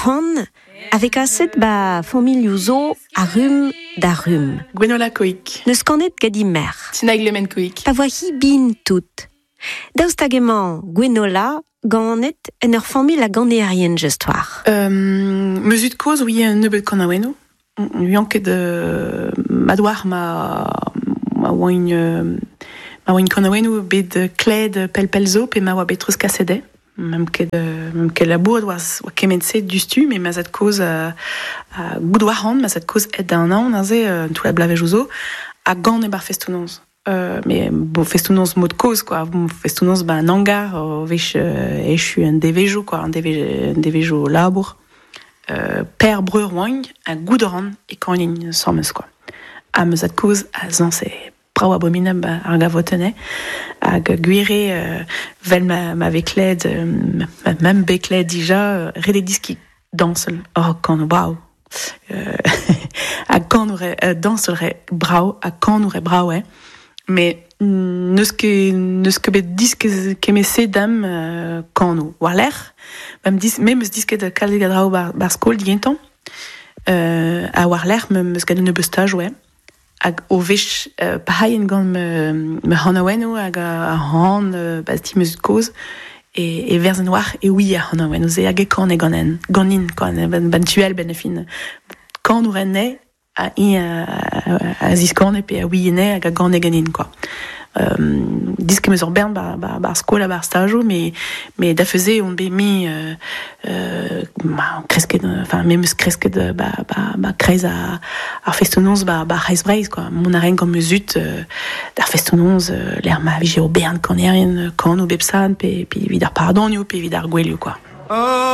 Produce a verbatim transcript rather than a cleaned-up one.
Ar c'han a vez kaset ba familhoù zo a rumm da rumm. Gwenola Coic. Neus kanet gant he merc'h. Tinaig Le Men Coic. Pa voa hi bin tout. Daoust hag emañ Gwenola ganet en ur familh a ganerien just war. Euh, ma zud kozh ouie un nebeud kanaouennoù. N'ouian ket euh, mat war ma ma oaint euh, ma oaint kanaouennoù bet kled pell pell zo pe ma oa bet treuzkaset dezhe. Meump ket euh, meump ket labouret war, war kement-se diouzhtu, met ma zad-kozh euh, a goût war c'han, ma zad-kozh aet da anaon neuze euh, tout la blavejoù zo, a gane bar festoù-noz. Euh, mais bon, festoù-noz mod kozh quoi, festoù-noz ba an hangar o wech euh, echu un devezhioù quoi, un devez un devezhioù labour. Euh, per breur oaint a goût ran e kanin asambles quoi. Ha ma zad-kozh a zañse brav abominabl ba ar gavotenn hag gwir eo euh, vel ma, ma vez klevet euh, ma meump bet klevet dija euh, ret eo deskiñ dañsal. Oh, kan brav. Euh, ha kanour eo, euh, dañsal re brav ha kanour eo brav eo. Met n'eus ket n'eus ket bet diskez kement-se dam euh, kano. War-lerc'h, me'm dis, me 'meus disket kalzik a draoù bar, bar skol digentañ. Euh, ha war-lerc'h me 'meus graet un nebeud staj, ouais. Hag o wech euh, pahaien gant me, me c'hanaouennoù hag a c'han euh, ba ti ma zud-kozh e, e verzen war e oui ar c'hanaouennoù se hag e kane ganen, ganin, quoi, ben, ben tuel ben e fin. Kanour enne a i a, a ziskane pe a ouiene hag a gane ganin, quoi. Euh, disket 'meus ur bern ba, ba, bar skol ha bar stajoù, met, met da feuze on bet mi euh, euh, ma kresket, enfin, me 'meus kresket ba, ba, ba kreiz a, ar festoù-noz ba, ba Kreiz Breizh, quoi. Mont a raen gant ma zud euh, d'ar festoù-noz euh, lec'h ma vije o bern kanerien kano bep sadorn pe, pe evit ar pardonioù pe evit ar gouelioù, quoi. Oh.